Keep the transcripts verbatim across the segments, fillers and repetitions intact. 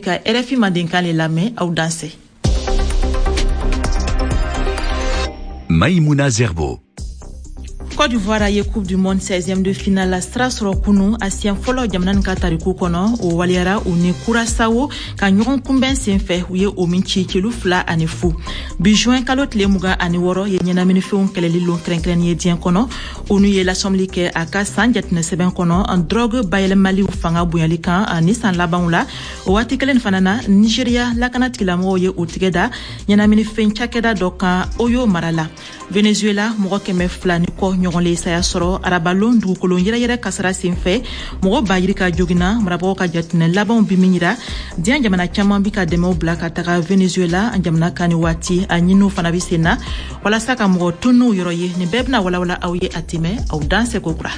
Ka R F I Mandenkan le lamɛn, aw dansɛ. Maïmouna Zerbo. Côte d'Ivoire ye Coupe du Monde seizième de finale sira sɔrɔ kunu, a siɲɛ fɔlɔ jamana nin ka tariku kɔnɔ. O waleyara u ni Kurasawo ka ɲɔgɔn kunbɛn sen fɛ, u ye o min ci celu fila ani fu. Bi juin kalo tile mugan ani wɔɔrɔ ye ɲɛnaminifɛnw kɛlɛli lon kɛrɛnkɛrɛnni ye diɲɛ kɔnɔ. ONU ye lasɔmili kɛ a ka san jatinɛ sɛbɛn kɔnɔ drogue bayɛlɛmaliw fanga bonyali kan ni san labanw la. O waati kelen fana na, Nigeriya lakana tigilamɔgɔw ye u tigɛ da ɲɛnaminifɛn cakɛda dɔ kan Oyo mara la. Venezuela, mɔgɔ kɛmɛ fila ni kɔ ɲɔgɔn le saya sɔrɔ arabalon dugukolo yɛrɛyɛrɛ kasara sen fɛ, mɔgɔ ba yirika jogina. Marabagaw ka jatinɛ labanw bi min yira, diɲɛ jamana caman bi ka dɛmɛw bila ka taga Venezuela jamana kan ni waati. A ɲiniw fana bi sen na walasa ka mɔgɔ tununw yɔrɔ ye. Nin bɛɛ bena walawala aw ye a tɛmɛ. Aw dan seko kura.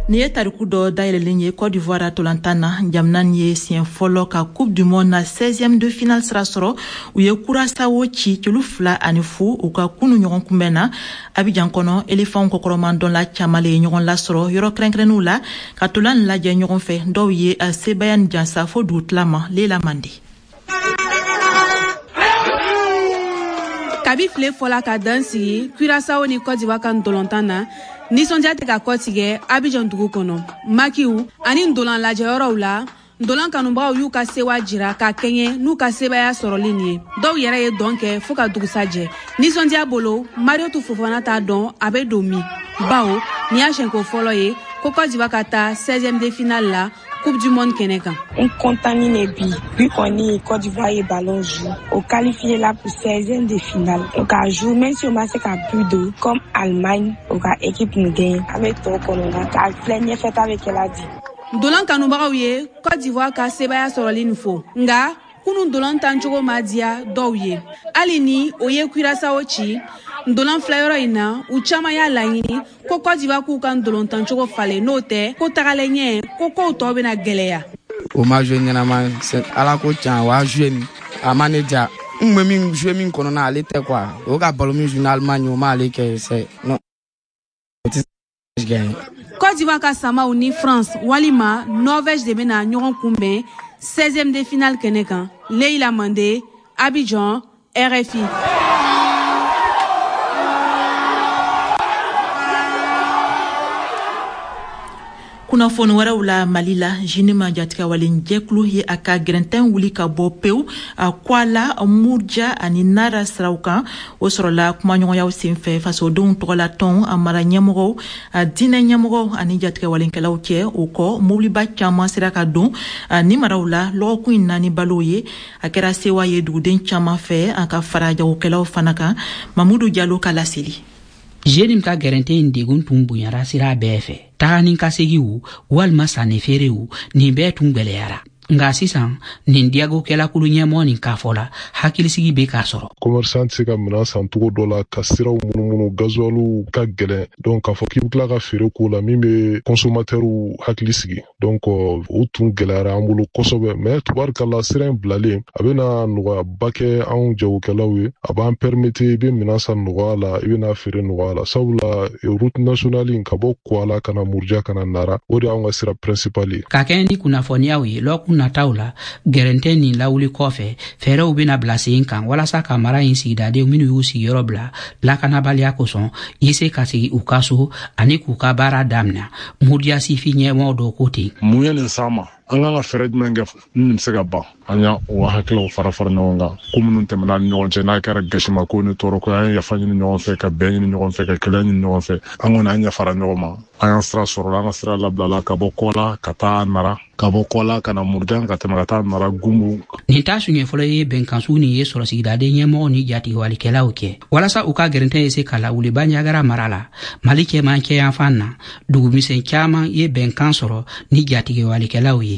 Nin ye tariku dɔ dayɛlɛlen ye Côte d'Ivoire tolantan na. Jamana nin ye siɲɛ fɔlɔ ka Coupe du Monde na seizième de finale sira sɔrɔ. U ye Kurasawo ci celu fila ani fu u ka kunu ɲɔgɔn kunbɛn na Abidjan kɔnɔ. Elefanw kɔkɔrɔmadɔnla caman le ye ɲɔgɔn lasɔrɔ yɔrɔ kɛrɛnkɛrɛnninw la ka tolan nin lajɛ ɲɔgɔn fɛ. Dɔw ye sebaya ni jansa fo dugutila ma. Lela Mande. Kabi file fɔla ka dan sigi Kurasawo ni Côte d'Ivoire ka ntolontan na, nisɔndiya tɛ ka kɔtigɛ Abidjan dugu kɔnɔ. Makiw ani ndolan lajɛyɔrɔw la, ndolan kanubagaw y'u ka sewa jira ka kɛɲɛ n'u ka sebaya sɔrɔli nin ye. Dɔw yɛrɛ ye dɔn kɛ fɔɔ ka dugusa jɛ nisɔndiya bolo. Mariotu Fofana t'a dɔn a bɛ don min, bawo nin y'a siɲɛko fɔlɔ ye ko Côte d'Ivoire ka taa seizième de finale la Coupe du Monde kɛnɛ kan. N content ne bi bi kɔni. Côte d'Ivoire ye ballon joué, o qualifié la pour seizième de finale. O ka joué, même si o ma se ka but don comme Allemagne, o ka équipe nin gagné. An bɛ tɔ kɔnɔ k'a filɛ ɲɛfɛ ta bɛ kɛla di. Ndolan kanubagaw ye Côte d'Ivoire ka sebaya sɔrɔli nin fo, nga kunu ndolan tancogo ma diya dɔw ye. Hali ni o ye Kurasawo ci ndolan filɛyɔrɔ in na, u caaman y'a laɲini ko Côte d'Ivoire k'u ka ndolontancogo falen, n'o tɛ ko tagalen ɲɛ ko kow tɔ bena gwɛlɛya. O ma joué ɲɛnama. Ala ko can, o y'a joué nin, a ma ne diya. N kun bɛ min joué min kɔnɔna, ale tɛ quoi. O ka ballon min joué ni Allemagne, o m'ale kɛ, c'est non, o tɛ gagner. Côte d'Ivoire ka samaw ni France walima Norvège de bena ɲɔgɔn kunbɛn seizième de finale kɛnɛ kan. Leila Mande, Abidjan, R F I. Kunnafoni wɛrɛw la, Mali la, JNIM jatigɛwalen jɛkulu ye a ka gɛrɛntɛn wuli ka bɔ pewu a Kwala, Murja ani Nara siraw kan. O sɔrɔla kumaɲɔgɔnyaw senfɛ fasodenw tɔgɔla tɔn, a mara ɲɛmɔgɔw, a diinɛ ɲɛmɔgɔw ani jatigɛwalenkɛlaw cɛ. O kɔ, mobiliba caman sera ka don ni maraw la lɔgɔkun in naani balow ye. A kɛra sewa ye duguden caman fɛ, a ka fara jagokɛlaw fana kan. Mamudu Jalo ka laseli. JNIM ka gɛrɛntɛ in degun tun bonyara sira bɛɛ fɛ. Taga ni ka segiw walima sanni feerew, nin bɛɛ tun gwɛlɛyara. Nka sisan, nin diyagokɛlakulu ɲɛmɔgɔ nin k'a fɔ la, hakilisigi bɛ k'a sɔrɔ. Commerçant tɛ se ka minɛn san cogo dɔ la ka siraw munumunu, gasoil ka gɛlɛn. Donc k'a fɔ k'i bɛ tila ka feere k'o la min bɛ consommateur hakili sigi, donc o tun gɛlɛyara an bolo kosɛbɛ. Mais tubarikala, sira in bilalen, a bɛna nɔgɔyaba kɛ anw jagokɛlaw ye. A b'an permettre i bɛ minɛn san nɔgɔya la, i bɛna feere nɔgɔya la, sabula route nationale in ka bɔ Kuala ka na Muruja ka na Nara, o de y'anw ka sira principal ye. Ka kɛɲɛ ni kunnafoniyaw ye lɔkun nataw la, gɛrɛntɛ nin lawuli kɔfɛ, fɛɛrɛw bena bila sen kan walasa ka mara in sigidadenw minw y'u sigiyɔrɔ bila lakanabaliya kosɔn ye se ka segi u ka so ani k'u ka baara damina. Muruja sifi ɲɛmɔgɔ dɔw ko ten. Mun ye nin s'an ma? An kan ka fɛɛrɛ jumɛn kɛ ni nin bɛ se ka ban? An y'a o hakiliw fara fara ɲɔgɔn kan. Ko minnu tɛmɛna ni ɲɔgɔn cɛ, n'a kɛra gasimako ni tɔɔrɔko ye, an ye yafa ɲini ɲɔgɔn fɛ, ka bɛn ɲini ɲɔgɔn fɛ, ka kɛlɛ ɲini ɲɔgɔn fɛ. An kɔni, an yafara ɲɔgɔn ma. An y'an sira sɔrɔla, an ka sira labilala ka bɔ Kɔla ka taa Nara, ka bɔ Kɔla ka na Murujan, ka tɛmɛ ka taa Nara Gunbu. Nin t'a siɲɛ fɔlɔ ye bɛnkansu nin ye sɔrɔ sigidaden ɲɛmɔgɔ ni jatigɛwalikɛlaw kɛ walasa u ka gɛrɛntɛ ye se ka lawuli Banjagara mara la, Mali cɛmancɛ yanfan na. Dugumisɛn caaman ye bɛnkan sɔrɔ ni jatigɛwalikɛlaw ye.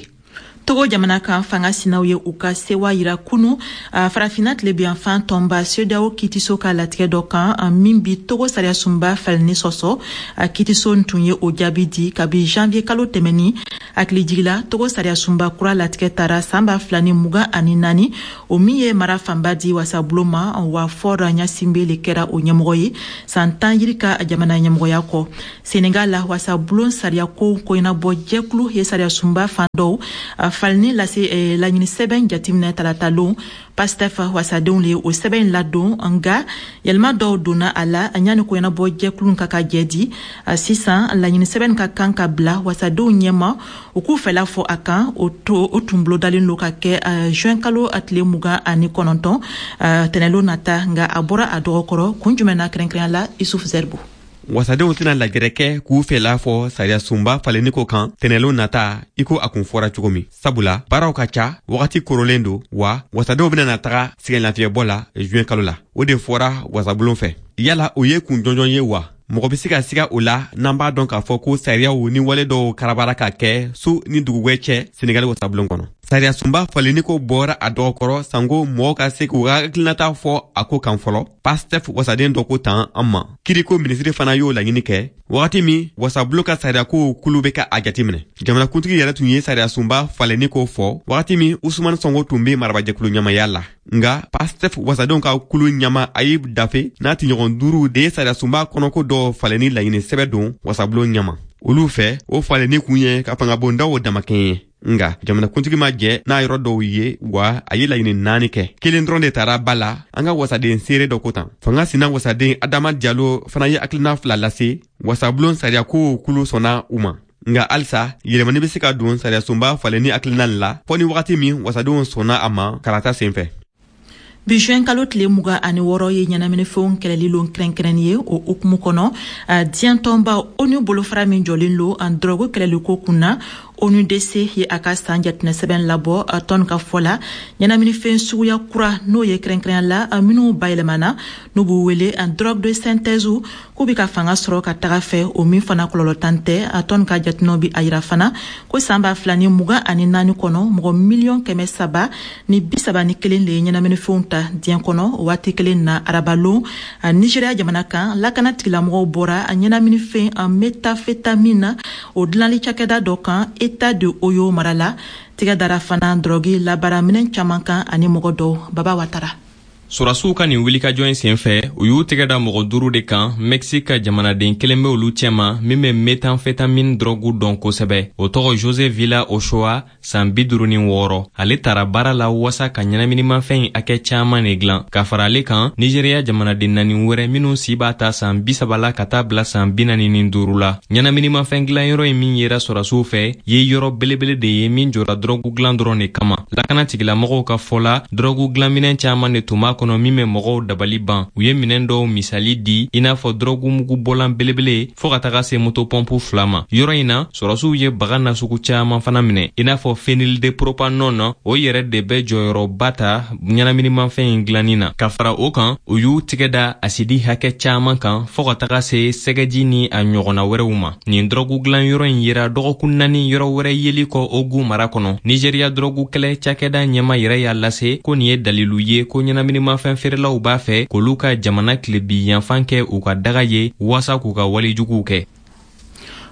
Togo jamana kan, fanga sinaw ye u ka sewa yira kunu Farafina tilebiyanfan tɔnba CEDEAO kitiso ka latigɛ dɔ kan min bi Togo sariyasunba falenni sɔsɔ. Kitiso tun ye o jaabi di kabi janvier kalo tɛmɛni. Hakilijigila, Togo sariyasunba kura latigɛ tara san ba fila ni mugan ani naani, o min ye mara fanba di wasabulon ma, wa Faure Gnassingbé le kɛra o ɲɛmɔgɔ ye san tan yirika jamana ɲɛmɔgɔya kɔ. Senegal la, wasabulon sariyako koɲɛnabɔ jɛkulu ye sariyasunba fan dɔw falenni lase laɲini sɛbɛn jateminɛ talata lon. Pastef wasadenw le o sɛbɛn ladon, nga yɛlɛma dɔw donna a la yanni koɲɛnabɔ jɛkulu ka ka jɛ di. Sisan laɲini sɛbɛn ka kan ka bila wasadenw ɲɛma, u k'u fɛla fɔ a kan. O o tun bolodalen don ka kɛ juin kalo tile mugan ani kɔnɔntɔn, tɛnɛlon nata, nka a bɔra a dɔgɔkɔrɔ. Kun jumɛn na kɛrɛnkɛrɛnya la, Isuf Zerbo? Wasadenw tɛna lajɛrɛ kɛ k'u fɛla fɔ sariyasunba falenni ko kan tɛnɛlon nata, i ko a kun fɔra cogo min, sabula baaraw ka ca, wagati korolen don, wa wasadenw bɛna na taga sɛgɛnlafiyɛbɔ la juin kalo la. O de fɔra wasabulon fɛ. Yala o ye kun jɔnjɔn ye wa? Mɔgɔ bɛ se ka siga o la, n'an b'a dɔn k'a fɔ ko sariyaw ni wale dɔw karabara ka kɛ su ni dugujɛ cɛ Senegali wasabulon kɔnɔ. Sariyasunba falenni ko bɔra a dɔgɔkɔrɔ sanko mɔgɔw ka se k'u ka hakilinata fɔ a ko kan fɔlɔ. Pastef wasaden dɔ ko tan an ma. Kiriko minisiri fana y'o laɲini kɛ wagati min wasabulon ka sariyakow kulu bɛ ka a jateminɛ. Jamanakuntigi yɛrɛ tun ye sariyasunba falenni ko fɔ wagati min Usumani Sɔnko tun bɛ marabajɛkulu ɲamaya la. Nga Pastef wasadenw ka kulu ɲama Ayib Dafe n'a tiɲɔgɔn duuru de ye sariyasunba kɔnɔko dɔ falenni laɲini sɛbɛ don wasabulon ɲama. Olu fɛ, o falenni kun ye ka fangabondaw damakɛɲɛ. Nga jamanakuntigi ma jɛ n'a yɔrɔ dɔw ye, wa a ye laɲini naani kɛ, kelen dɔrɔn de taara ba la. An ka wasaden seere dɔ ko tan. Fanga sina wasaden Adama Jalo fana ye hakilina fila lase, wasabulon sariyakow kulu sɔnna u ma. Nga halisa yɛlɛmani bɛ se ka don sariyasunba falenni hakilina la fɔɔ ni wagati min wasadenw sɔnna a ma kalata sen fɛ. Bi juin kalo tile mugan ani wɔɔrɔ ye ɲɛnaminifɛnw kɛlɛli lon kɛrɛnkɛrɛnni ye. O hukumu kɔnɔ, diɲɛ tɔnba ONU bolofara min jɔlen lo an dɔrɔgu kɛlɛliko kun na, O N U D C, ye a ka san jatinɛ sɛbɛn labɔ. Tɔn ka fɔ la, ɲɛnaminifɛn suguya kura, n'o ye kɛrɛnkɛrɛnya la minnu bayɛlɛmana, n'u b'u wele drogue de synthèse, k'u bɛ ka fanga sɔrɔ ka taga fɛ, o min fana kɔlɔlɔtan tɛ. Tɔn ka jatinɛw bi a yira fana ko san ba fila ni mugan ani naani kɔnɔ, mɔgɔ miliyɔn kɛmɛ saba ni bi saba ni kelen de ye ɲɛnaminifɛnw ta diɲɛ kɔnɔ. O waati kelen na, arabalon, Nigéria jamana kan, lakana tigilamɔgɔw bɔra ɲɛnaminifɛn méthamphétamine o dilanli cakɛda dɔ kan État de Oyo mara la. Tigɛ dara fana dɔrɔgi labaara minɛn caman kan ani mɔgɔ dɔw. Baba Watara. Sɔrɔdasiw ka nin wulikajɔ in senfɛ, u y'u tɛgɛ da mɔgɔ duuru de kan. Mexique ka jamanaden kelen bɛ olu cɛma min bɛ méthamphétamine dɔrɔgu dɔn kosɛbɛ. O tɔgɔ Jose Villa Ochoa, san bi duuru ni wɔɔrɔ. Ale tara baara la wasa ka ɲɛnaminimafɛn in hakɛ caaman de gilan. Ka fara ale kan, Nigeriya jamanaden naani wɛrɛ minw si b'a ta san bi saba la ka taa bila san bi naani ni duuru la. Ɲɛnaminimafɛn gilanyɔrɔ in min yera sɔrɔdasiw fɛ ye yɔrɔ belebele de ye min jɔra dɔrɔgu gilan dɔrɔn de kama. Lakana tigilamɔgɔw ka fɔ la, dɔrɔgu gilanminɛn caaman de tun b'a kɔnɔ min bɛ mɔgɔw dabali ban. U ye minɛn dɔw misali di, i n'a fɔ dɔrɔgu bɔlan belebele, fɔɔ ka taga se motopɔnpu fila ma. Yɔrɔ in na, sɔrɔdasiw ye baga nasugu caaman fana minɛ, i n'a fɔ phényldpropanone. O yɛrɛ de bɛ jɔyɔrɔba ta ɲɛnaminimafɛn in gilanni na. Ka fara o kan, u y'u tigɛ da asidi hakɛ caaman kan, fɔɔ ka taga se sɛgɛji ni a ɲɔgɔnna wɛrɛw ma. Nin dɔrɔgu gilan yɔrɔ in yera dɔgɔkun naani yɔrɔ wɛrɛ yeli kɔ Ogu mara kɔnɔ. Nigeriya dɔrɔgu kɛlɛ cakɛda ɲɛma yɛrɛ y'a lase ko nin ye dalilu ye ko ɲɛnaminimafɛn feerelaw b'a fɛ k'olu ka jamana tilebi yanfan kɛ u ka daga ye waasa k'u ka walejuguw kɛ.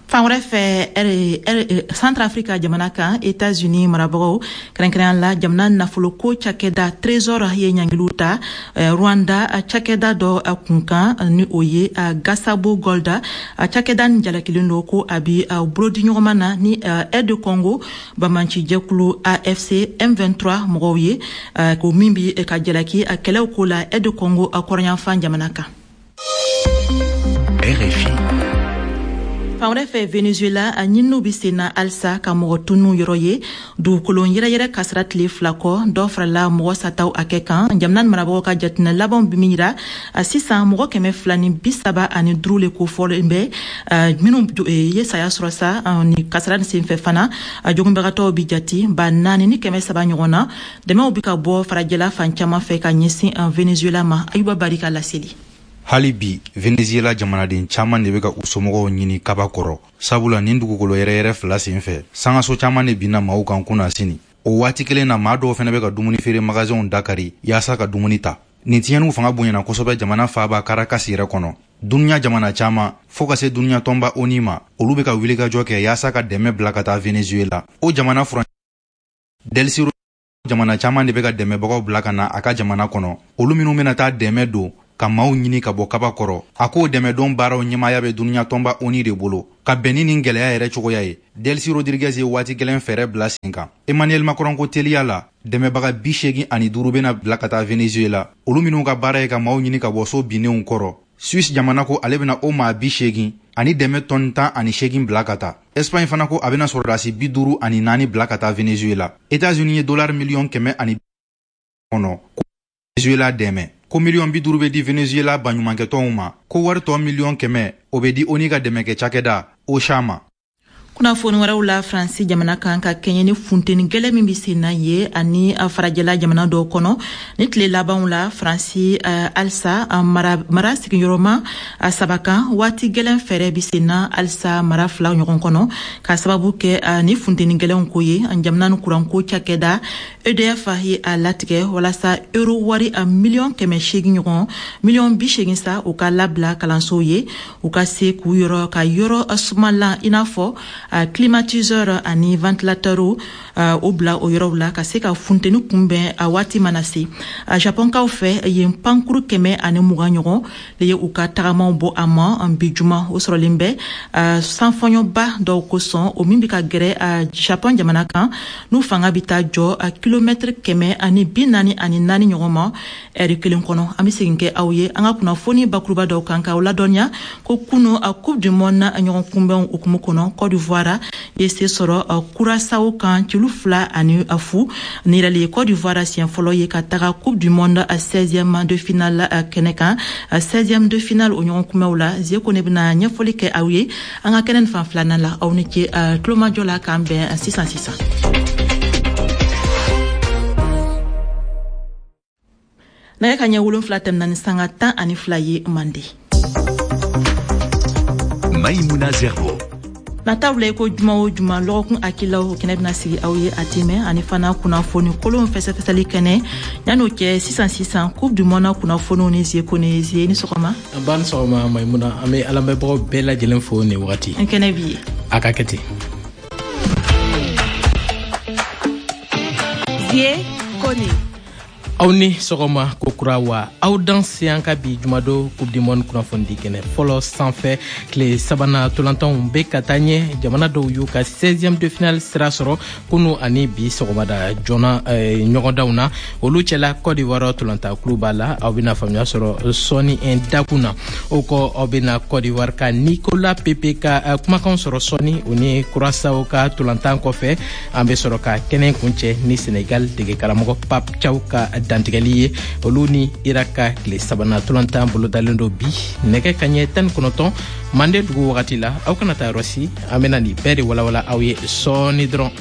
Fan wɛrɛ fɛ, Centrafrique jamana kan, États-Unis marabagaw, kɛrɛnkɛrɛnya la jamana nafoloko cakɛda Trésor, ye ɲangiliw ta Rwanda cakɛda dɔ kunkan, ni o ye Gasabo Gold. Cakɛda nin jalakilen don ko a bi bolodiɲɔgɔnma na ni R D Congo banbanci jɛkulu A F C M vingt-trois mɔgɔw ye, ko min bi ka jalaki kɛlɛw ko la R D Congo kɔrɔnyanfan jamana kan. R F I. Fan wɛrɛ fɛ, Venezuela, a ɲininiw bi sen na halisa ka mɔgɔ tunu yɔrɔ ye. Dugukolo yɛrɛyɛrɛ kasara tile fila kɔ, dɔ farala mɔgɔ sataw hakɛ kan. Jamana marabagaw ka jatinɛ labanw bi min yira, sisan mɔgɔ kɛmɛ fila ni bi saba ani duuru le kofɔlen bɛ minnu ye saya sɔrɔ sa ni kasara ni senfɛ. Fana jogunbagatɔw bi jati ba naani ni kɛmɛ saba ɲɔgɔn na. Dɛmɛw bi ka bɔ farajɛla fan caman fɛ ka ɲɛsin Venezuela ma. Ayuba Barika laseli. Hali bi Venezuela jamanaden caman de bɛ ka u somɔgɔw ɲini kaba kɔrɔ, sabula nin dugukolo yɛrɛyɛrɛ fila sen fɛ, sangaso caman de binna maaw kan kunasini. O waati kelen na, maa dɔw fana bɛ ka dumuni feere magasinw dakari yaasa ka dumuni ta. Nin tiɲɛniw fanga bonyana kosɛbɛ jamana faaba Caracas yɛrɛ kɔnɔ. Dunuya jamana caman, fo ka se dunuya tɔnba ONU ma, olu bɛ ka wulikajɔ kɛ yaasa ka dɛmɛ bila ka taa Venezuela. O jamana furancɛ Delcy jamana caman de bɛ ka dɛmɛbagaw bila ka na a ka jamana kɔnɔ, olu minnu bɛna taa dɛmɛ don ka maaw ɲini ka bɔ kaba kɔrɔ. A k'o dɛmɛdon baaraw ɲɛmaaya bɛ dunuya tɔnba ONU de bolo. Ka bɛn ni nin gɛlɛya yɛrɛ cogoya ye, Delcy Rodriguez ye waati gɛlɛn fɛɛrɛ bila sen kan. Emmanuel Macron ko teliya la, dɛmɛbaga bi seegin ani duuru bɛna bila ka taa Venezuela, olu minnu ka baara ye ka maaw ɲini ka bɔ so binnenw kɔrɔ. Suisse jamana ko ale bɛna o maa bi seegin ani dɛmɛ tɔni tan ani seegin bila ka taa. Espagne fana ko a bɛna sɔrɔdasi bi duuru ani naani bila ka taa Venezuela. États-Unis ye dollar miliyɔn kɛmɛ ani kɔnɔ Venezuela dɛmɛ. Ko miliyɔn bi duuru bɛ di Venezuela baɲumankɛtɔnw ma, ko wari tɔ miliyɔn kɛmɛ o bɛ di ONU ka dɛmɛkɛ cakɛda OCHA ma. Kunnafoni wɛrɛw la, Faransi jamana kan ka kɛɲɛ ni funteni gɛlɛn min bɛ sen na ye ani farajɛla jamana dɔw kɔnɔ ni tile labanw la, Faransi halisa mara mara sigiyɔrɔma saba kan waati gɛlɛn fɛɛrɛ bɛ sen na halisa mara fila ɲɔgɔn kɔnɔ ka sababu kɛ ni funteni gɛlɛnw ko ye. Jamana ni kuranko cakɛda E D F ye a latigɛ walasa euro wari a miliyɔn kɛmɛ seegin ɲɔgɔn, miliyɔn bi seegin sa, u ka labila kalansow ye, u ka se k'u yɔrɔ ka yɔrɔ sumalan i n'a fɔ climatiseur ani ventilateur o bila o yɔrɔw la ka se ka funteni kunbɛn a waati mana se. Japonkaw fɛ yen, pankuru kɛmɛ ani mugan ɲɔgɔn de ye u ka tagamaw bɔ a ma bi juma. O sɔrɔlen bɛ sanfɔɲɔba dɔw kosɔn, o min bɛ ka gɛrɛ Japon jamana kan, n'u fanga bɛ taa jɔ kilomɛtiri kɛmɛ ani bi naani ani naani ɲɔgɔn ma ɛri kelen kɔnɔ. An bɛ segin kɛ aw ye an ka kunnafoni bakuruba dɔw kan k'aw ladɔnniya ko kunu a Coupe du monde ɲɔgɔn kunbɛnw hukumu kɔnɔ, Côte d'Ivoire ye se sɔrɔ Curaçao kan celu fila ani fu. Ni yɛrɛ ye Côte d'Ivoire siɲɛ fɔlɔ ye ka taga Coupe du monde seizième de finale kɛnɛ kan. seizième de finale o ɲɔgɔn kunbɛnw la, Zeko ne bɛna ɲɛfɔli kɛ aw ye an ka kɛnɛ fan filanan la. Aw ni ce tulomajɔ la, k'an bɛn sisan sisan. Nɛgɛ ka ɲɛ wolonfila tɛmɛna ni sanga tan ani fila ye Mande. Maïmouna Zerbo. Nataw la ko juma o juma lɔgɔkun akilaw kɛnɛ bɛna sigi aw ye a tɛmɛ ani fana kunnafoni kolon fɛsɛfɛsɛli kɛnɛ. Yan'o cɛ, sisan sisan Coupe du monde kunnafoniw ni Zeko ni Zie. Ni sɔgɔma. An ba ni sɔgɔma Maïmouna, an bɛ alamɛnbagaw bɛɛ lajɛlen fo nin wagati. N kɛnɛ b'i ye. A ka kɛ ten. Zie Kone. Aw ni sɔgɔma ko kura wa aw dan se an ka bi jumadon Coupe du monde kunnafonidi kɛnɛ fɔlɔ sanfɛ. Tile sabanan tolantanw bɛ ka taa ɲɛ, jamana dɔw y'u ka seizième de finale sira sɔrɔ kunu ani bi sɔgɔmada joona ɲɔgɔndanw na. Olu cɛla Côte d'Ivoire tolantankulu b'a la, aw bɛna faamuya sɔrɔ sɔɔni dakun na. O kɔ, aw bɛna Côte d'Ivoire ka Nicolas Pepe ka kumakan sɔrɔ sɔɔni o ni Curaçao ka tolantan kɔfɛ. An bɛ sɔrɔ ka kɛnɛ kuncɛ ni Sénégal dege karamɔgɔ Pape Thiaw ka dantigɛli ye. Olu ni Irak ka tile sabanan tolantan bolodalen don bi nɛgɛ kaɲɛ tan ni kɔnɔntɔn Mande dugu wagati la. Aw kana taa yɔrɔ si, an bɛna nin bɛɛ de walawala aw ye sɔɔni dɔrɔn.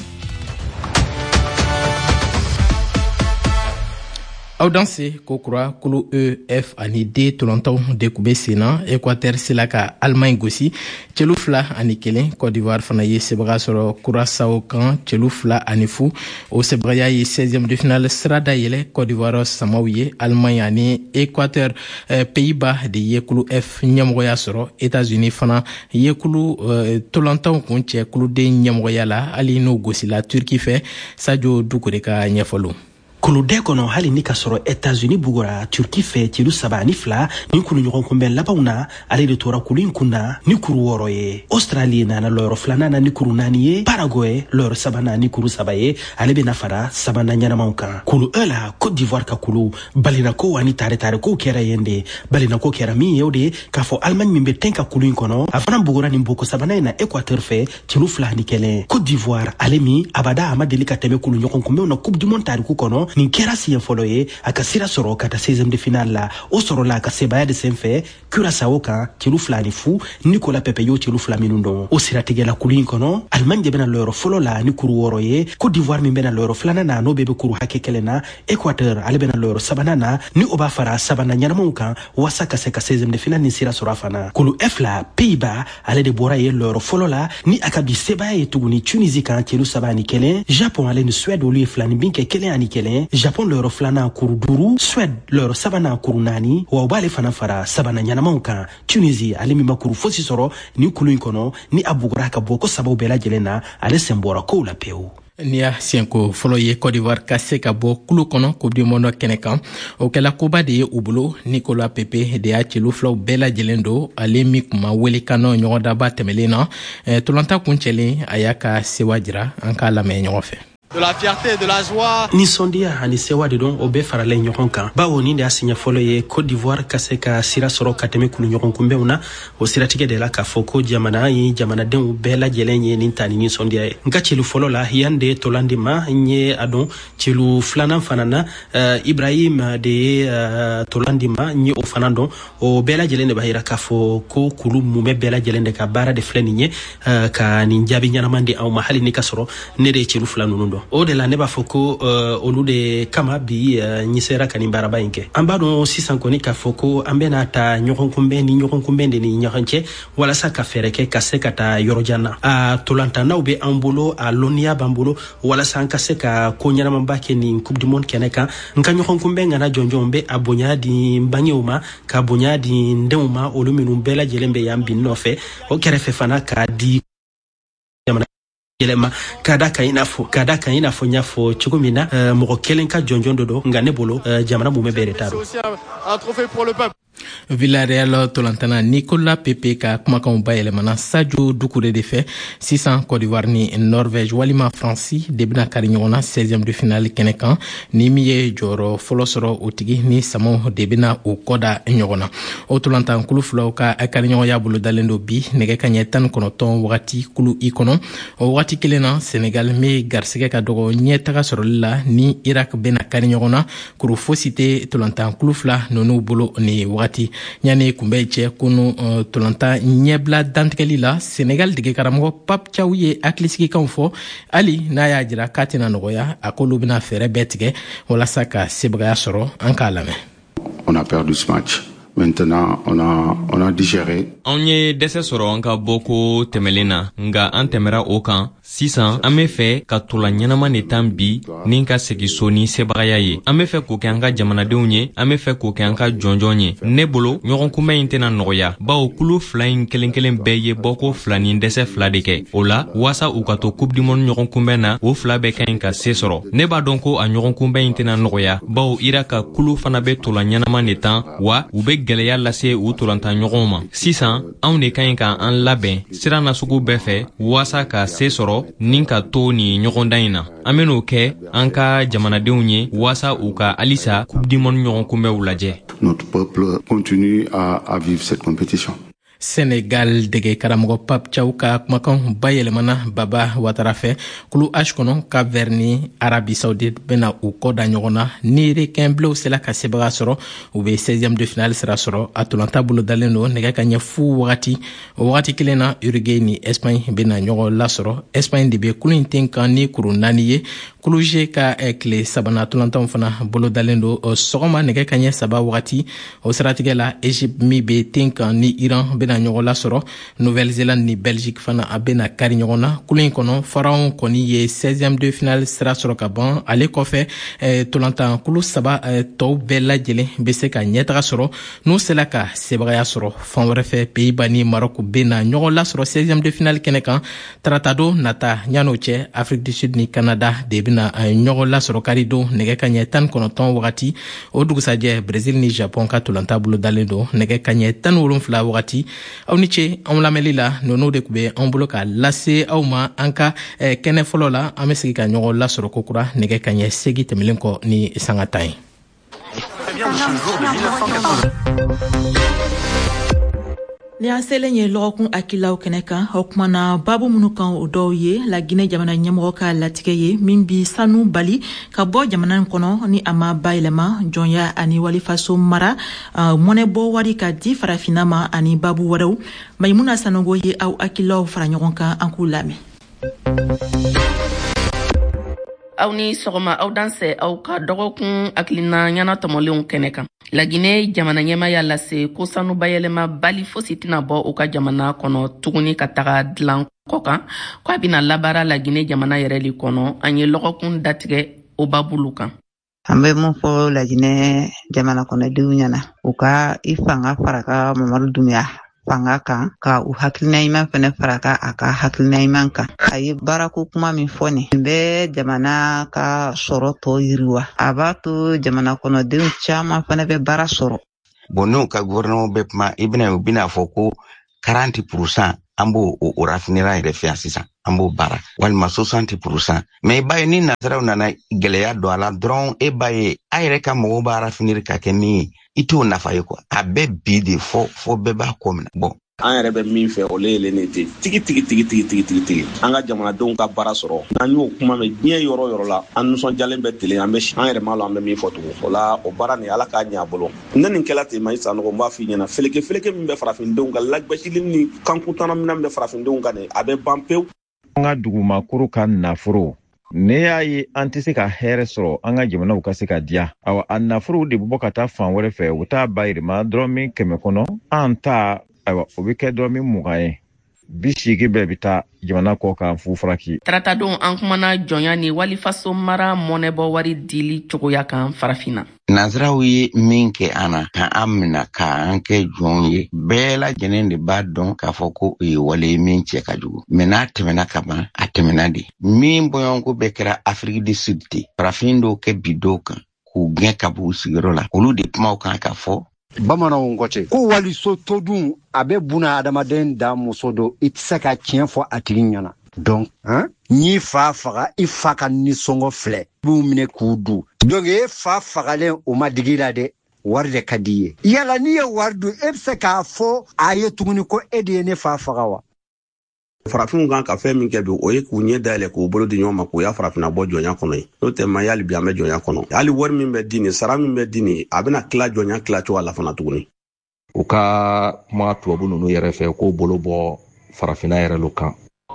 Aw danse ko kura. Kulu E, F ani D tolantanw de kun bɛ sen na. Équateur sela ka Allemagne gosi celu fila ani kelen. Côte d'Ivoire fana ye sebaga sɔrɔ Curaçao kan celu fila ani fu. O sebagaya ye seizième de finale sira dayɛlɛ Côte d'Ivoire samaw ye. Allemagne ani Équateur, eh, Pays-Bas de ye kulu F ɲɛmɔgɔya sɔrɔ. États-Unis fana ye kulu eh, tolantanw kun cɛ kulu D ɲɛmɔgɔya la, hali n'o gosila Turquie fɛ. Sadio Dukure ka ɲɛfɔliw. Kulu D kɔnɔ, hali ni ka sɔrɔ États-Unis bugura Turki fɛ celu saba ani fila nin kulu ɲɔgɔn kunbɛn labanw na, ale de tora kulu in kun na ni kuru wɔɔrɔ ye. Australie nana lɔyɔrɔ filanan na ni kuru naani ye, Paraguay lɔyɔrɔ sabanan ni kuru saba ye, ale bɛna fara sabanan ɲɛnamaw kan. Kulu E la, Côte d'Ivoire ka kulu balinako ani tare-tarekow kɛra yen de. Balinako kɛra min ye, o de k'a fɔ Allemagne min bɛ ten ka kulu in kɔnɔ, a fana bugura nin boko sabanan in na Équateur fɛ celu fila ani kelen. Côte d'Ivoire, ale min abada a ma deli ka tɛmɛ kulu ɲɔgɔn kunbɛnw na Coupe du monde tariku kɔnɔ, Nin kɛra siɲɛ fɔlɔ ye a ka sira sɔrɔ ka taa seizième de finale la. O sɔrɔla a ka sebaya de senfɛ Curaçao kan celu fila ni fu. Nicolas Pepe y'o celu fila minnu dɔn. O siratigɛla, kulu in kɔnɔ, Allemagne de bɛna lɔyɔrɔ fɔlɔ la ni kuru wɔɔrɔ ye. Côte d'Ivoire min bɛna lɔyɔrɔ filanan na, n'o bɛɛ bɛ kuru hakɛ kelen na. Équateur, ale bɛna lɔyɔrɔ sabanan na, ni o b'a fara sabanan ɲɛnamaw kan waasa ka se ka seizième de finale ni sira sɔrɔ a fana. Kulu F la, Pays-Bas, ale de bɔra ye lɔyɔrɔ fɔlɔ la ni a ka bi sebaya ye tuguni Tunisie kan celu saba ani kelen. Japon, ale ni Suède, olu ye fila ni bin kɛ kelen ani kelen. Japon lɔyɔrɔ filanan kuru duuru, Suède lɔyɔrɔ sabanan kuru naani, wa u b'ale fana fara sabanan ɲɛnamaw kan. Tunisie, ale min ma kuru fosi sɔrɔ nin kulu in kɔnɔ, ni a bugura ka bɔ ko sabaw bɛɛ lajɛlen na, ale sen bɔra kow la pewu. N'i y'a siɲɛko fɔlɔ ye Côte d'Ivoire ka se ka bɔ kulu kɔnɔ Coupe du monde kɛnɛ kan, o kɛla koba de ye u bolo. Nicolas Pepe de y'a celu filaw bɛɛ lajɛlen don, ale min kun ma wele kan nɔ ɲɔgɔndaba tɛmɛlen na. Tolanta kun cɛlen, a y'a ka sewa jira. An k'a lamɛn ɲɔgɔn fɛ. De la fierté, de la joie. Nisɔndiya ani sewa de don, o bɛɛ faralen ɲɔgɔn kan, bawo nin de y'a siɲɛ fɔlɔ ye Côte d'Ivoire ka se ka sira sɔrɔ ka tɛmɛ kulu ɲɔgɔn kunbɛnw na. O siratigɛ de la k'a fɔ ko jamana ye jamanadenw bɛɛ lajɛlen ye nin ta ni nisɔndiya ye. N ka celu fɔlɔ la, yan de ye tolan di ma, n ye a dɔn. Celu filanan fana na, uh, Ibrahim de ye uh, tolan di ma, n ye o fana dɔn. O bɛɛ lajɛlen de b'a yira k'a fɔ ko kulu mumɛ bɛɛ lajɛlen de ka baara de filɛ nin ye, uh, ka nin jaabi ɲɛnaman di anw ma, hali ni ka sɔrɔ ne de ye celu fila ninnu dɔn. O de la ne b'a fɔ ko uh, olu de kama bi uh, n sera ka nin baaraba in kɛ. An b'a dɔn sisan kɔni k'a fɔ ko an bɛna ta ɲɔgɔn kunbɛn ni ɲɔgɔn kunbɛn de ni ɲɔgɔn cɛ walasa ka fɛɛrɛ kɛ ka se ka taa yɔrɔjan na. A tolantannaw bɛ an bolo, a lɔnniya b'an bolo walasa an ka se ka ko ɲɛnamaba kɛ nin Coupe du monde kɛnɛ kan. N ka ɲɔgɔn kunbɛn ŋana jɔnjɔn bɛ a bonya di n bangew ma, ka bonya di n denw ma, olu minnu bɛɛ lajɛlen bɛ yan bi nɔfɛ. O kɛrɛfɛ fana, k'a di jamana yɛlɛma ka da kan i n'a fɔ ka da kan i n'a fɔ n y'a fɔ cogo min na, uh, mɔgɔ kelen ka jɔnjɔn dɔ don, nka ne bolo, uh, jamana mumɛ bɛɛ de t'a dɔn. Un trophée pour le peuple. Villarreal tolantana Nicolas Pepe ka kumakanw bayɛlɛmana Sadio Dukure de fɛ. Sisan, Côte d'Ivoire ni Norvège walima Faransi de bɛna kari ɲɔgɔn na seizième de finale kɛnɛ kan. Ni min ye jɔyɔrɔ fɔlɔ sɔrɔ, o tigi ni samaw de bɛna o kɔda ɲɔgɔn na. O tolantan kulu filaw ka kariɲɔgɔnya bolodalen don bi nɛgɛ ka ɲɛ tan ni kɔnɔntɔn wagati kulu i kɔnɔ. O wagati kelen na, Senegal min garisɛgɛ ka dɔgɔ ɲɛtaga sɔrɔli la, ni Irak bɛna kari ɲɔgɔn na. Kuru fosi tɛ tolantan kulu fila ninnu bolo ni wagati. Yanni kunbɛn cɛ, kunu uh, tolantan ɲɛbila dantigɛli la, Senegal dege karamɔgɔ Pape Thiaw ye hakilisigikanw fɔ, hali n'a y'a jira k'a tɛna nɔgɔya. A k'olu bɛna fɛɛrɛ bɛɛ tigɛ walasa ka sebagaya sɔrɔ. An k'a lamɛn. On a perdu ce match. Maintenant, on a, on a digéré. Anw ye dɛsɛ sɔrɔ an ka bɔko tɛmɛlen na, nga an tɛmɛra o kan. Sisan, an be fɛ ka tola ɲɛnama de tan bi ni ka segi so ni sebagaya ye. An be fɛ k'o kɛ an ka jamanadenw ye, an be fɛ k'o kɛ an ka jɔnjɔn ye. Ne bolo, ɲɔgɔn kunbɛn in tɛna nɔgɔya, bawo kulu fila in kelen kelen bɛɛ ye bɔko fila ni dɛsɛ fila de kɛ. O la, waasa u ka to Coupe du monde ɲɔgɔn kunbɛn na, o fila bɛɛ ka ɲi ka se sɔrɔ. Ne b'a dɔn ko a ɲɔgɔn kunbɛn in tɛna nɔgɔya, bawo Irak ka kulu fana be tola ɲɛnama de tan, wa u be gwɛlɛya lase u tolantan ɲɔgɔnw ma. Sisan, anw de ka ɲi ka an labɛn sira nasugu bɛɛ fɛ waasa ka se sɔrɔ ni ka to nin ɲɔgɔndan in na. An ben'o kɛ an ka jamanadenw ye waasa u ka halisa Coupe du monde ɲɔgɔn kunbɛnw lajɛ. Notre peuple continue à, à vivre cette compétition. Senegal dege karamɔgɔ Pape Thiaw ka kumakanw bayɛlɛmana Baba Watara fɛ. Kulu H kɔnɔ, Cap Vert ni Arabie Saoudite bena u kɔ da ɲɔgɔn na. Ni requin bleus sela ka sebaga sɔrɔ, u be seizième de finale sira sɔrɔ. A tolanta bolodalen don nɛgɛ ka ɲɛ fu wagati. O wagati kelen na, Uruguay ni Espagne bena ɲɔgɔn lasɔrɔ. Espagne de be kulu in ten kan ni kuru naani ye. Kulu G ka tile sabana tolantanw fana bolodalen don sɔgɔma nɛgɛ ka ɲɛ saba wagati. O siratigɛ la, Egypte min be ten kan ni Iran bena ɲɔgɔn lasɔrɔ. Nouvelle Zélande ni Belgique fana a bena kari ɲɔgɔn na. Kulu in kɔnɔ, Pharaon kɔni ye seizième de finale sira sɔrɔ ka ban. Ale kɔfɛ, eh, tolantan kulu saba eh, tɔw bɛɛ lajɛlen be se ka ɲɛtaga sɔrɔ n'u sela ka sebagaya sɔrɔ. Fan wɛrɛ fɛ, Pays-Bas ni Maroc bena ɲɔgɔn lasɔrɔ seizième de finale kɛnɛ kan taratadon nata. Yan'o cɛ, Afrique du Sud ni Canada de bena ɲɔgɔn lasɔrɔ karidon nɛgɛ ka ɲɛ tan kɔnɔntɔn wagati. O dugusajɛ, Brésil ni Japon ka tolanta bolodalen don nɛgɛ ka ɲɛ tan wolonfila wagati. Aw ni ce anw lamɛnli la. Ninnu de tun bɛ anw bolo ka lase aw ma an ka eh, kɛnɛ fɔlɔ la. An bɛ sigi ka ɲɔgɔn lasɔrɔ kokura nɛgɛ ka ɲɛ segi tɛmɛlen kɔ ni sanga tan ye. Ni an selen ye lɔgɔkun hakililaw kɛnɛ kan, o kumana babu minnu kan, o dɔw ye Laginɛ jamana ɲɛmɔgɔ ka latigɛ ye min bi sanu bali ka bɔ jamana in kɔnɔ ni a ma bayɛlɛma, jɔnya ani walifaso mara, uh, mɔnɛbɔ wari ka di Farafinna ma, ani babu wɛrɛw. Mayimuna Sanogo ye aw hakililaw fara ɲɔgɔn kan, an k'u lamɛn. Aw ni sɔgɔma, aw dansɛ aw ka dɔgɔkun hakilina ɲɛna tɔmɔlenw kɛnɛ kan. Laginɛ jamana ɲɛma y'a lase ko sanu bayɛlɛma bali fosi tɛna bɔ u ka jamana kɔnɔ tuguni ka taga dilan kɔ kan, ko a bɛna labaara Laginɛ jamana yɛrɛ le kɔnɔ. An ye lɔgɔkun datigɛ o babulu kan. An bɛ mun fɔ Laginɛ jamana kɔnɔdenw ɲɛna? U ka i fanga fara ka Mamadu Dunbiya fanga kan, ka u hakilina ɲuman fɛnɛ fara ka a ka hakilina ɲuman kan. A ye baarako kuma min fɔ, nin nin bɛ jamana ka sɔrɔ tɔ yiriwa, a b'a to jamana kɔnɔdenw caman fɛnɛ bɛ baara sɔrɔ. Bon, n'u ka gouvernement bɛ kuma, i bɛna u bɛna fɔ ko quarante pourcent an b'o o raffinerie yɛrɛ fɛ yan sisan, an b'o baara, walima soixante pourcent. Mais i b'a ye, ni nazaraw nana gɛlɛya don a la dɔrɔn, e b'a ye a yɛrɛ ka mɔgɔw b'a raffinerie ka kɛ min ye, i t'o nafa ye quoi. A bɛ bi de fɔ fɔ bɛɛ b'a kɔ minɛ. Bon, an yɛrɛ bɛ min fɛ, o le yelen ne ten tigi tigi tigi tigi tigi tigi tigi, an ka jamanadenw ka baara sɔrɔ. N'an y'o kuma mɛn diɲɛ yɔrɔ yɔrɔ la, an nisɔndiyalen bɛ telen, an bɛ an yɛrɛ m'a lɔn an bɛ min fɔ tugun. O la, o baara nin, Ala k'a ɲɛ a bolo. Ne nin kɛla ten, ma i Sanogo, n b'a f'i ɲɛna, feleke feleke min bɛ farafindenw kan, lagbɛsili ni kankuntana minɛn bɛ farafindenw kan nin, a bɛ ban pewu. An ka dugumakoro ka nafolo, ne y'a ye an tɛ se ka hɛrɛ sɔrɔ, an ka jamanaw ka se ka diya. Awa, a nafolow de bɛ bɔ ka taa fan wɛrɛ fɛ, u bɛ taa bayɛlɛma dɔrɔmɛ kɛmɛ kɔnɔ, an ta, ayiwa, o bɛ kɛ dɔrɔmɛ mugan ye, bi seegin bɛɛ bɛ taa jamana kɔ kan fu faraki. Taratadon, an kumana jɔnya ni walifaso mara mɔnɛbɔ wari dili cogoya kan Farafinna. Nazaraw ye min kɛ an na, ka an mina k'an kɛ jɔnw ye, bɛɛ lajɛlen de b'a dɔn k'a fɔ ko o ye wale ye min cɛ ka jugu. Mɛ n'a tɛmɛna ka ban, a tɛmɛna de. Min bɔɲɔgɔnko bɛɛ kɛra Afrique du Sud ten, farafin dɔw kɛ bi dɔw kan k'u gɛn ka bɔ u sigiyɔrɔ la, olu de kumaw kan ka fɔ. Bamananw kɔ ko waliso todun, a bɛ buna adamaden da muso don, i tɛ se ka tiɲɛ fɔ a tigi ɲɛna. Donc n'i fa faga, i fa ka nisɔngɔ filɛ, b'u minɛ k'u du. Donc e fa fagalen, o ma digi la dɛ, wari de ka di i ye. Yala n'i ye wari dun, e bɛ se k'a fɔ a ye tuguni ko e de ye ne fa faga wa? Farafinw kan ka fɛn min kɛ bi, o ye k'u ɲɛ dayɛlɛ, k'u bolo di ɲɔgɔn ma, k'u y'a farafinna bɔ jɔnya kɔnɔ ye. N'o tɛ ma, hali bi an bɛ jɔnya kɔnɔ. Hali wari min bɛ di nin, sara min bɛ di nin, a bɛna tila jɔnya tila cogoya la fana tuguni. U ka kuma tubabu ninnu yɛrɛ fɛ k'o bolo bɔ farafinna yɛrɛ lo kan.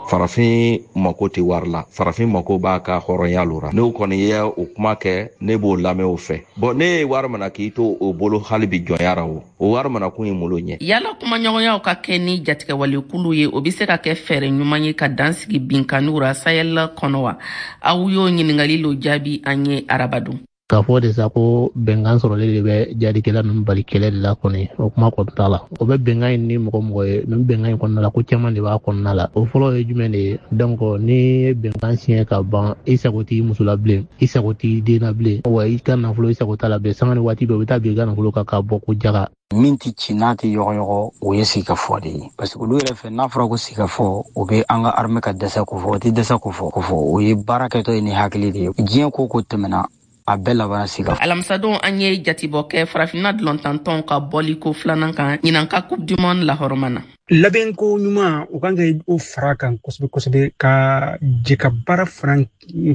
Farafin mako tɛ wari la, farafin mako b'a ka hɔrɔnya lo ra. N'o kɔni ye o kuma kɛ, ne b'o lamɛn o fɛ. Bɔn, ne ye wari mana k'i to o bolo hali bi jɔnya ra, o o wari mana kun ye malo ɲɛ. Yala kumaɲɔgɔnyaw ka kɛ ni jatigɛwalekulu ye, o be se ka kɛ fɛɛrɛ ɲuman ye ka dan sigi binkanniw ra Sahel kɔnɔ wa? Aw y'o ɲiningali lo jaabi an ye arabadon. K'a fɔ de sa ko bɛnkan sɔrɔlen de bɛ jadikɛla ninnu bali kɛlɛ de la kɔni, o kuma kɔni t'a la. O bɛ bɛnkan in ni mɔgɔ mɔgɔ ye, nin bɛnkan in kɔnɔna la, ko caman de b'a kɔnɔna la. O fɔlɔ ye jumɛn de ye? Donc ni ye bɛnkan siɲɛ ka ban, i sago t'i muso la bilen, i sago t'i den na bilen, wa i ka nafolo, i sago t'a la bilen. Sanga ni waati bɛɛ, u bɛ taa bin i ka nafolo kan k'a bɔ ko jaga. Min tɛ ci n'a tɛ yɔgɔyɔgɔ, o ye sigikafɔ de ye, parce que olu yɛrɛ fɛ, n'a fɔra ko sigikafɔ, o bɛ an ka armée ka dɛsɛ ko fɔ. O tɛ dɛsɛ ko fɔ ko fɔ, o ye baara kɛtɔ ye ni hakili de ye. Diɲɛ ko ko tɛmɛna, a bɛɛ labanna sika. Alamisadon, an ye jatibɔ kɛ farafinna dɔlɔntantɔnw ka bɔliko filanan kan ɲinan ka Coupe du monde lahɔrɔma na. Labɛnko ɲuman, o kan ka o fara kan kosɛbɛ kosɛbɛ, ka jɛ ka baara fana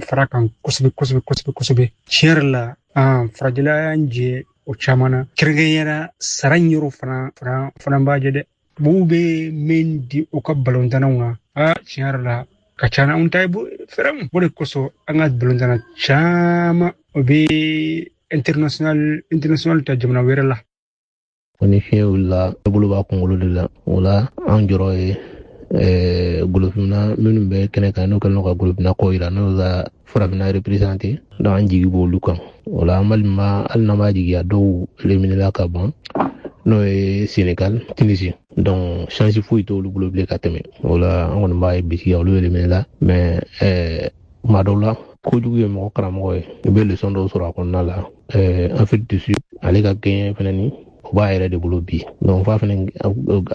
fara kan kosɛbɛ kosɛbɛ kosɛbɛ kosɛbɛ. Tiɲɛ yɛrɛ la, an farajɛla y'an jɛ o caman na, kɛrɛnkɛrɛnnenya sara yɔrɔ fana fana fana b'a jɛ dɛ. Tubabuw bɛ min di u ka balontannaw ma, aa, tiɲɛ yɛrɛ la, ka ca anw ta ye fɛrɛ. O de kosɔn an ka balontanna caman, o bɛ international international ta jamana wɛrɛ la. Ko ni fiɲɛ wulila, ne bolo b'a kunkolo de la. O la, an jɔrɔ ye golofinna minnu bɛ kɛnɛ kan, n'o kɛlen don ka golofinna kɔ yira, n'o ka farafinna représenté. Donc an jigi b'olu kan. O la, an balima, hali n'an b'a jigiya, dɔw éliminé la ka ban, n'o ye Sénégal, Tunisie. Donc chance foyi t'olu bolo bilen ka tɛmɛ o la. An kɔni b'a ye bisigiya, olu éliminé la. Mais kuma dɔw la, kojugu ye mɔgɔ karamɔgɔ ye, i bɛ leçon dɔw sɔrɔ a kɔnɔna la. Afrique du Sud, ale ka gɛɲɛ fɛnɛ ni o b'a yɛrɛ de bolo bi. Donc fa fɛnɛ,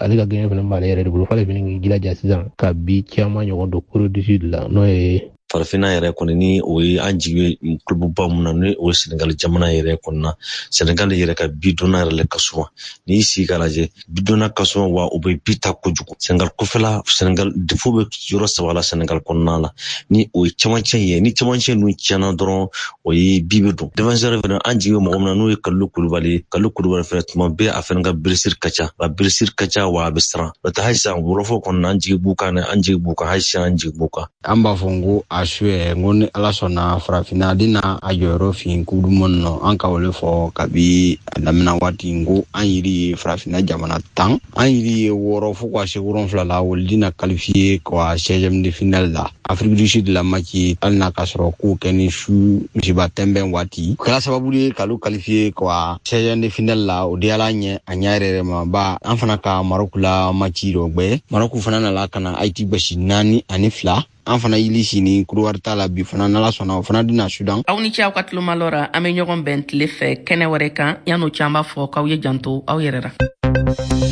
ale ka gɛɲɛ fɛnɛ b'ale yɛrɛ de bolo, f'ale fɛnɛ k'i jilaja sisan ka bi caman ɲɔgɔn don Corée du Sud la, n'o ye Farafinna yɛrɛ kɔni, ni o ye an jigi bɛ club ba mun na, ni o ye Senegal jamana yɛrɛ kɔni na. Senegal yɛrɛ ka bi donna yɛrɛ le ka suma. N'i y'i sigi k'a lajɛ, bi donna ka suma wa u bɛ bi ta kojugu. Senegal kɔfɛla, Senegal défaut bɛ yɔrɔ saba la Senegal kɔnɔna la, ni o ye camancɛ ye. Ni camancɛ ninnu tiɲɛna dɔrɔn, o ye bi bɛ don. Défenseur fɛnɛ, an jigi bɛ mɔgɔ min na, n'o ye Kalilu Kulubali ye. Kalilu Kulubali fɛnɛ, tuma bɛɛ a fɛnɛ ka blessure ka ca, a blessure ka ca wa a bɛ siran. N'o tɛ, hali sisan wɔlɔfɔ kɔnɔna, an jigi b'u kan dɛ, an jigi b'u kan, hali sisan an jigi b'u kan. An b'a fɔ n ko a su yɛrɛ, n ko ni Ala sɔnna, farafinna den na a jɔyɔrɔ fin Coupe du monde nɔ. An ka o le fɔ kabi a daminɛ waati, n ko an yiri ye farafinna jamana tan, an yiri ye wɔɔrɔ fo ka se wolonfila la, olu dina qualifié ka seizième de finale la. Afrique du Sud la match, hali n'a ka sɔrɔ k'o kɛ ni su misiba tɛnbɛn waati, o kɛra sababu ye k'olu qualifié ka seizième de finale la. O diyala ɲɛ a ɲɛ yɛrɛ yɛrɛ ma ba. An fana ka Maroc la match dɔ gbɛ, Maroc fana nana ka na Haïti gosi naani ani fila. An fana yili sini Côte ta la bi fana, n'Ala sɔnna, o fana dina Sudan. Aw ni ce aw ka tulomalɔ ra. An be ɲɔgɔn bɛn tile fɛ kɛnɛ wɛrɛ kan. Yan'o cɛ, an b'a fɔ k'aw ye janto aw yɛrɛ ra.